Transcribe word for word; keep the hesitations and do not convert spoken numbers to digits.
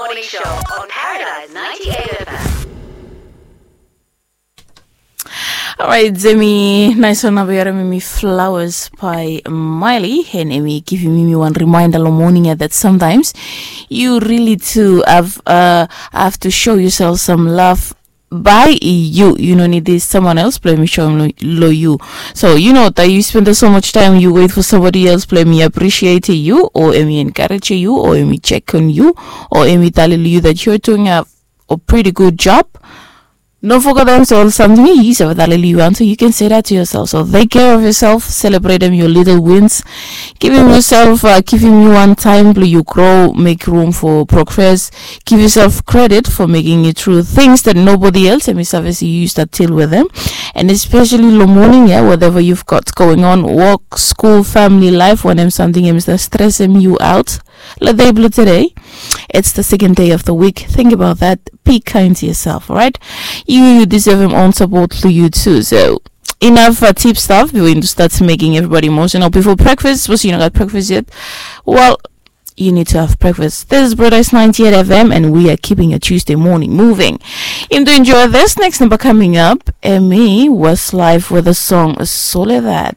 Morning Show on Paradise ninety-eight F M. Alright, hemi nais wan namba, yu harim hemi Flowers by Miley, and hemi givim mi wan reminder lo morning ia that sometimes you really too have, uh, have to show yourself some love by you. You no need this someone else blong hemi show lo, lo you. So you know that you spend so much time, you wait for somebody else blong hemi appreciate you, o hemi encourage you, o hemi check on you, o hemi talem lo you that you're doing a, a pretty good job. No forget, so something you have that you want to, you can say that to yourself. So take care of yourself, celebrate them, your little wins. Givim yourself, uh, givim you one time blong you grow, make room for progress. Give yourself credit for making it through things that nobody else, and service you used to deal with them. And especially lo morning, yeah, whatever you've got going on, work, school, family life, when something is stressing you out, lo dei blong today, it's the second day of the week. Think about that. Be kind to yourself, all right? You, you deserve him own support for you too. So enough, uh, tip stuff before you start making everybody emotional before breakfast. Suppose you not got breakfast yet. Well, you need to have breakfast. This is Paradise ninety-eight F M, and we are keeping your Tuesday morning moving. Him do enjoy this next number coming up. Hemi Westlife with the song Soledad.